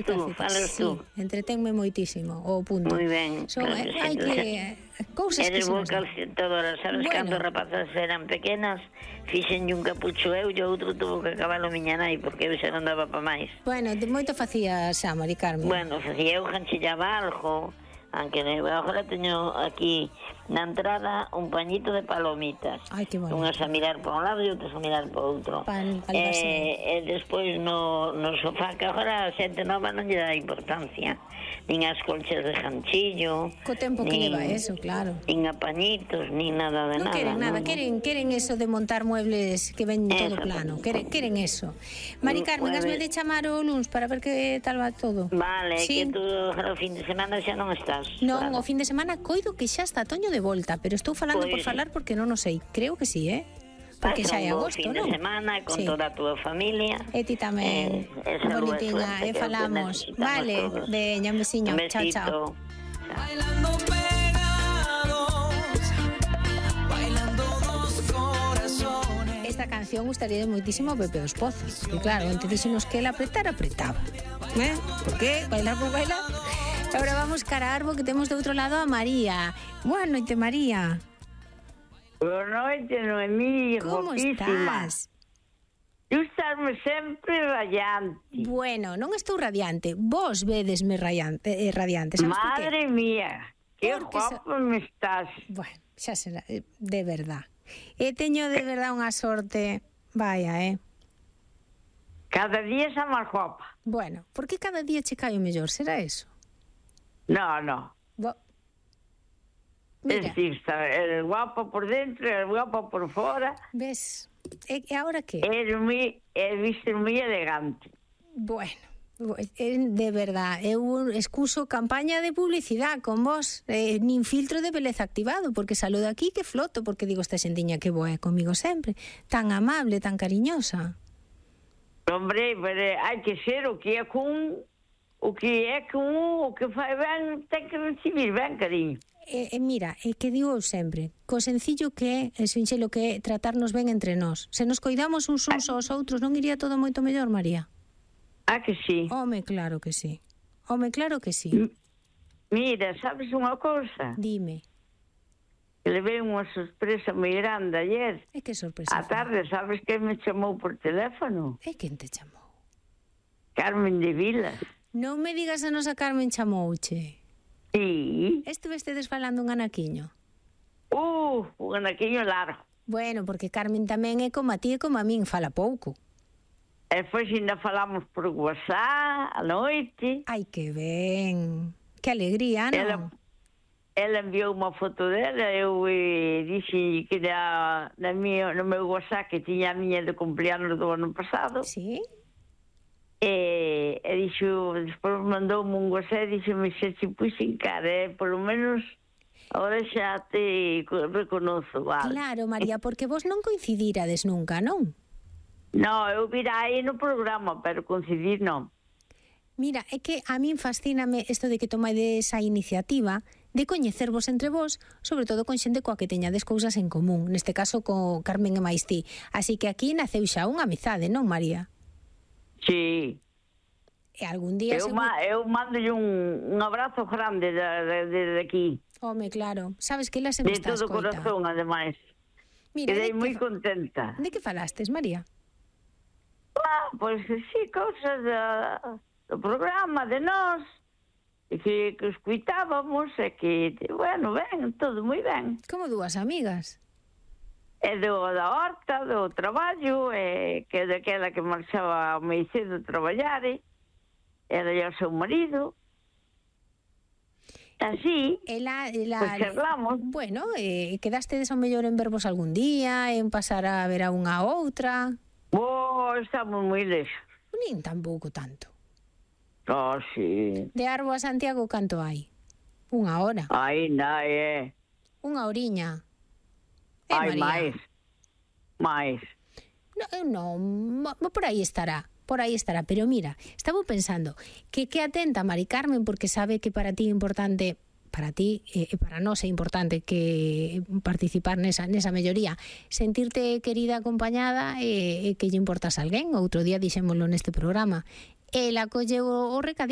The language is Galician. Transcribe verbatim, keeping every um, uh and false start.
Tú, falas tú. Sí, entretenme moitísimo, o punto. Moi ben. Son, claro, eh, hai que... Cousas que eres se boa nos dan. calcetadora, sabes, Bueno. cando as rapazas eran pequenas, fixenlle un capucho eu e o outro tuvo que acabalo miña nai, porque eu xa non daba pa máis. Bueno, de moito facía xa, Mari Carmen. Bueno, facía eu ganchillaba algo, aunque agora teño aquí na entrada un pañito de palomitas. Ai, que bonito. Unhas a mirar para un lado e outras a mirar para outro. Pan, pan e, e despois no, no sofá, que agora a xente nova non lle dá importancia, nin as colchas de ganchillo, Co tempo que nin, leva eso, claro. nin a pañitos, nin nada de Non nada. queren nada, non. queren queren eso de montar muebles que ven todo Eso. plano. Queren, queren eso. Mari Carmen, Muebles. hasme de chamar o luns para ver que tal va todo. Vale, Sí. que tú o fin de semana xa non estás. Non, claro. o fin de semana coido que xa está Toño de volta, pero estou falando por Pois- falar porque non o sei. Creo que sí, eh? Porque Pasa xa é un bo agosto, fin non? de semana con Sí. toda a túa familia. E ti tamén, Eh, e salud e bonitiña, suerte, e que é o que falamos. necesitamos Vale, todos. veña, un besiño. Un Chao, besito. chao. Bailando pegados, bailando dos corazones. Esta canción gustaría moitísimo a Pepe dos Pozos. E claro, antes dixemos que el apretar, apretaba. Eh? Por qué? Bailar por bailar. Ahora vamos cara a Arbo, que temos do outro lado a María. Boa noite, María. Boa noite, Noemí, Como guapísima. estás? Tú estás-me sempre radiante. Bueno, non estou radiante. Vos vedesme radiante, eh, radiante. Sabes por qué? Madre mía, que Porque so- guapa me estás. Bueno, xa será, eh, de verdad. E teño de verdad unha sorte. Vaya, eh. Cada día está máis guapa. Bueno, por que cada día che cae o mellor? Será eso? No, no. Bo... Es Mira, decir, está, eres guapa por dentro, eres guapa por fora. ves? E, e agora que? Eres moi, eres viste moi elegante. Bueno, eh, de verdad, eu excuso campaña de publicidade con vos, eh, nin filtro de beleza activado, porque saludo aquí que floto, porque digo esta xentiña que boa é comigo sempre, tan amable, tan cariñosa. Hombre, pero hai que ser o que é con o que é con o que fai ben, ten que recibir ben, cariño. E, e mira, é que digo eu sempre, co sencillo que é, e sinxelo que é tratarnos ben entre nós. Se nos coidamos uns uns aos outros, non iría todo moito mellor, María? Ah, que sí. Home, claro que sí. Home, claro que sí. Mira, sabes unha cousa? Dime. Que levei unha sorpresa moi grande ayer. É que sorpresa. A tarde, sabes que me chamou por teléfono? É quen te chamou? Carmen de Vilas. Non me digas a nosa Carmen chamouche. Sí. Estuvestedes falando un anaquiño? Uh, un anaquiño largo. Bueno, porque Carmen tamén é como a ti e como a min, fala pouco. E depois ainda falamos por WhatsApp, a noite. Ai, que ben. Que alegría, non? Ela, ela enviou unha foto dela, eu eh, dixi que na, na mío, no meu WhatsApp que tiña a miña de cumpleanos do ano pasado. Sí? E, e dixo, despois mandoume un WhatsApp e dixo-me xa te puxen cara, eh? Por lo menos agora xa te reconozo, vale? Claro, María, porque vos non coincidirades nunca, non? No, eu vira aí no programa, pero coincidir non. Mira, é que a min fascíname isto de que tomades esa iniciativa de coñecervos entre vos, sobre todo con xente coa que teñades cousas en común, neste caso co Carmen e máis ti. Así que aquí naceu xa unha amizade, non, María? Sí. E algún día... Eu, seguro- ma, eu mando un, un abrazo grande de, de, de, de aquí. Home, claro. Sabes que ela sempre De está a todo escoita. corazón, ademais. Mira, Quedei de moi que, contenta. de que falastes, María? Ah, pois sí, cousas da, do programa, de nós, e que, que escuitábamos, e que, bueno, ben, todo moi ben. Como dúas amigas. E do, da horta, do traballo, e que daquela que marchaba moi cedo a traballar, e era o seu marido. Así, Ela, ela, pois charlamos. Bueno, eh, quedastedes ao mellor en vervos algún día, en pasar a ver a unha a outra. Oh, estamos moi lexos. Nin tampouco tanto. Oh, sí. De Arbo a Santiago canto hai? Unha hora. Aí, na, é. Unha horiña. Eh, Hai María? máis. máis. No, eu non, mo- por aí estará. Por aí estará, pero mira, estaba pensando que que atenta Mari Carmen porque sabe que para ti é importante, para ti e eh, para nós é importante que participar nesa nesa melloría, sentirte querida, acompañada e, e que lle importas a alguén. Outro día dixémolo neste programa. Ela colleu o, o recadito